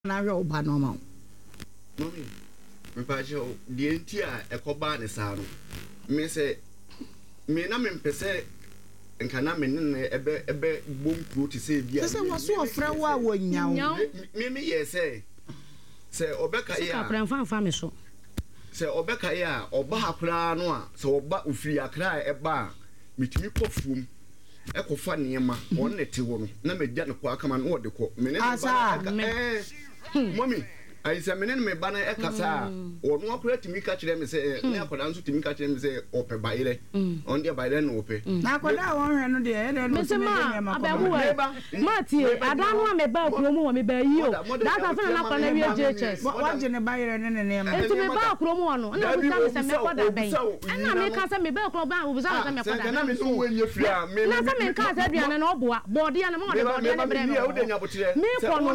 Na ahwɛ wo ba no ama wo. Mummy, mepakyɛw, deɛ nti a ɛkɔbaa ne saa no, me sɛ, me na mempɛ sɛ nka na me ne no ɛbɛ ɛbɛ bɔ nkuro te sɛ ebi a. Sɛ sɛ wɔso ɔfrɛ wo a wɔnnya wo. Me me yɛ sɛ, sɛ ɔbɛkae a. Sika koraa mfa mfa me so. Sɛ ɔbɛkae a, ɔba ha koraa no a, sɛ ɔba ofiri Accra a ɛba a, metumi kɔ afuom. kɔfa nneɛma, ɔno na ɛte hɔ no, na magya no kɔ akama no, na ɔde kɔ. Me ne me ba no ɛka, ɛɛ, mɔmi, ayi sɛ me ne me ba no ɛkasa a, ɔno akora tumi ka kyerɛ me sɛ, ne akwadaa nso tumi ka kyerɛ me sɛ ɔpɛ bayerɛ, ɔno deɛ bayerɛ na ɔpɛ. Na akwadaa a wɔnhwɛ no deɛ, ɛyɛ dɛn na ɔtumi de nneɛma kɔ ma no? Ma tie, ada no a mebaa kurom hɔ, mebaa yi o, that time afei na na akwadaa no awie JHS. Wagye ne bayerɛ ne ne nneɛma. Nti mebaa kurom hɔ no, ɛna ɔbisa me sɛ mɛkɔ da bɛn. Ɛna meka sɛ mebaa kurom hɔ, ɔbisa me sɛ mɛkɔ da bɛn. Na sɛ menkaa sɛ aduane no ɔboa, bɔɔdeɛ no, ma ɔde bɔɔdeɛ no brɛɛ me wɔ hɔ. Mekɔ no,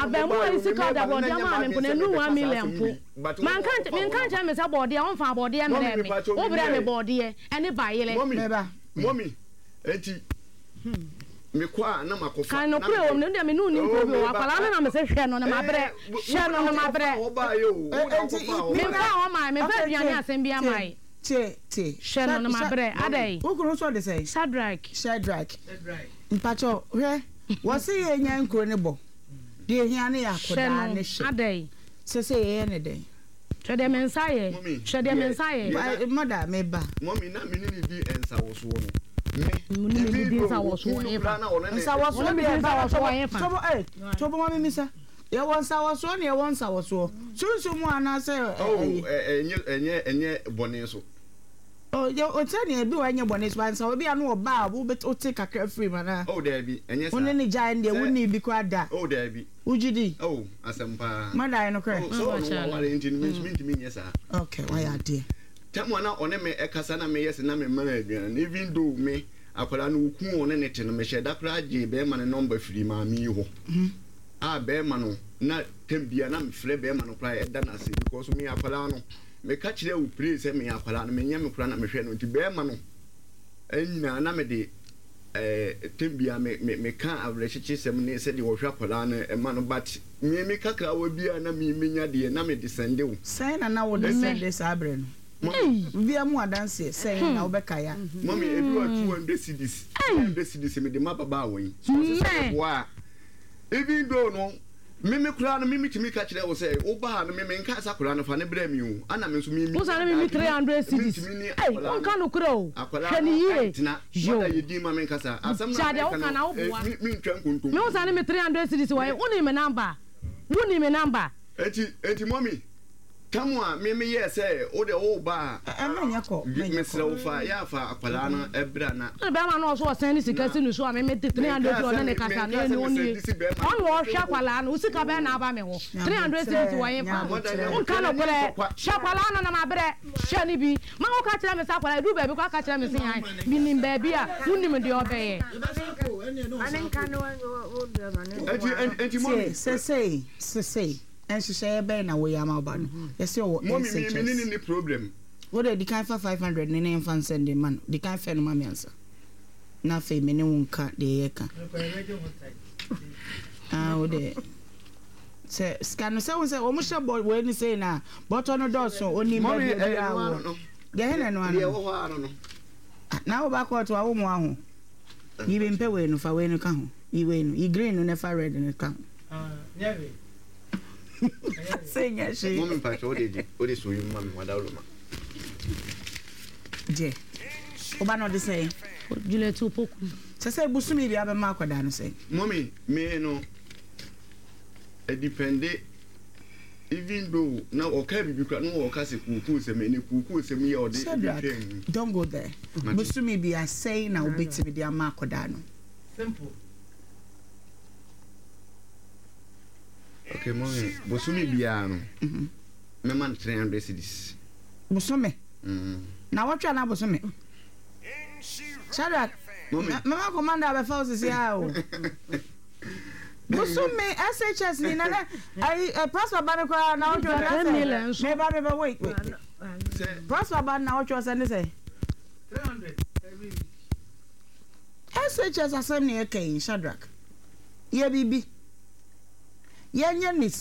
abarimaa yi sika ɔde bɔɔdeɛ maa me mpo no, ɛnnuru one million mpo. Manka menka nkyerɛ me sɛ bɔɔdeɛ, ɔmfaa bɔɔdeɛ mmrɛɛ me. Wobrɛɛ me bɔɔdeɛ ɛne bayerɛ. Mummy, enti mekɔ a na makɔfa. Kan nokorɛ wɔ mu no, deɛ me ne wo nni nkuro bi wɔ hɔ. Akwadaa no na mese hwɛ no na mabrɛ, hwɛ no na mabrɛ. Memfaa hɔ mae, memfaa aduane asɛm biara mae. Tie, tie. Hwɛ no na mabrɛ, adɛn? Wo kunu nso ɔde sɛn? Shadrack. Shadrack. Mpakyɛw, hwɛ, wɔse yɛnya nkuro no bɔ. Deɛ ehia no yɛ akɔdaa ne hwɛ. Adɛn? Sese yɛyɛ ne dɛn? Hwɛ deɛ me nsa ayɛ. Hwɛ deɛ me nsa ayɛ. Mother, me ba. Mummy, na me ne no di nsawɔsoɔ no. Me, Wo ne me even di though nsawɔsoɔ okunu no ɛfa. koraa na ɔne ne. Nsawɔsoɔ Wo ne me deɛ di ba nsawɔsoɔ ɛfa. tobo eh, tobo ma me misa. Yɛwɔ nsawɔsoɔ na yɛwɔ nsawɔsoɔ. Sunsum mu anaasɛ Oh, ɛyi. ɛnyɛ ɛnyɛ ɛnyɛ bɔne so. Oh, yɛ ɔkyerɛ nea ebi wɔ ɛnyɛ bɔne so ba nsa obi ano ɔba a wo wote kakra firi mu anaa. Oh, daabi, ɛnyɛ saa. Wo ne ne gyae no deɛ Sɛ wo ni bi koraa da. Oh, daabi. Wogye di? Oh, asɛm paa. Mada ayɛ nokorɛ? Oh, sɛ ɔno waware nti no, me nso mentumi nyɛ saa. Okay, wayɛ adeɛ. Tam a na ɔne me ɛkasa na meyɛ sɛ na mema no aduane no, even though me, akwadaa no okunu a ɔne no te no, mehyɛɛ da koraa gyee bɛrima no number firii maame yi hɔ. A bɛrima no, na tam biara na mefrɛ bɛrima no koraa ɛda no ase because me akwadaa no, meka kyerɛɛ wo pray sɛ me akwadaa no, menyɛ me koraa na mehwɛ no nti bɛrima no nyinaa na mede Eh tem bia me me me ka awerɛkyekyesɛm ne sɛdeɛ wɔhwɛ akwadaa no ɛma no but me me kakrawa bi a na me menya deɛ na me de sɛnde wo. Sɛn na na wode sɛnde saa berɛ no? Mummy. Bia mu adanseɛ sɛn na wobɛkae a? Mummy ebi wɔ 200 cedis, 300 cedis me de ma ababaawa yi. So ɔsɛ sɛ meboa a even though no Me me koraa no me metumi ka kyerɛ wo sɛ wo ba no me me nka sɛ akwadaa no fa ne brɛ me o ana me nso me Wo sane me me 300 cedis mentumi ne Ei akwadaa wonka no nokorɛ o akwadaa hwɛ no no yie ɛntena yo mother yɛ din ma me nkasa asɛm no Gya a deɛ meka woka no na woboa eh, me mentwa nkontompo Me wo sane me 300 cedis wɔ he wonim me number wonim me number. Enti enti mommy Tam a me me yɛɛ sɛ wo deɛ wo ba a mesrɛ wo fa yɛ a fa akwadaa no bra na. Ɔne bɛrima no ɔso ɔsɛn ne sika si ne so a me me de 300 bi ɔne ne kasa no ɛne ɔnie ɔne ɔhwɛ akwadaa no wo sika bɛn na aba me hɔ 300 cedis wɔ he fa wonka nokorɛ hwɛ akwadaa no na mabrɛ hwɛ no bi ma wo ka kyerɛ me sɛ akwadaa ɛduru baabi koraa ka kyerɛ me se han menim baabi a wonim deɛ ɔbɛyɛ. Tie, sesei, sesei. Nhyehyɛeɛ bɛn na woyɛ ama wo ba no? Yɛse ɔwɔ Mummy me me ne SHS. no nni problem. Wo deɛ di kan fa 500 no ne mfa nsɛnde mma no. Di kan fɛ no ma me ansa. Na afei me ne wo nka deɛ yɛka. Ah, wo deɛ. Sɛ sika no sɛ wo sɛ wɔn hyɛ bɔ wei ne sei na bɔtɔ no dɔɔso onim Mummy baabi ɛyɛ obiara no wɔ. ano no. Deɛ he na ɛno ano Deɛ no? ɛwɔ hɔ ano no. Na wo ba kɔɔto a wo mmoa ho. Yi me mpɛ wei no fa wei no ka ho. Yi wei no yi green no na fa red no ka ho. Sɛ nyɛ hwee. Mɔmi mpakyɛ wode di wode so yi ma me wadaworo ma. Gye. Woba na ɔde sɛn? Juliet Opoku. Sɛ sɛ bosome bi abɛma akwadaa no sɛn? Mɔmi me no ɛdipɛnde even though na ɔka biribi kora na ɔka sɛ kuukuu sɛm ɛne kuukuu sɛm yi a ɔde Shadrach, twɛn mu. don't go there. Bosome bi asɛn na wobɛtumi de ama akwadaa no. Simple. Okay, mommy, bosome biara no, mɛma no 300 cedis. Bosome? Na wɔtwe anaa bosome? Shadrach, mɛma commander abɛfa wo sisi a o. Bosome SHS ni na na ayi eh, pastor ba no koraa na wɔtwe ɔna sɛ meba meba wait wait. Pastor ba na wɔtwe ɔsɛ ne sɛ. 300 every week. SHS asɛm na yɛka yi Shadrach. Yɛ biribi. Yɛnyɛ ne.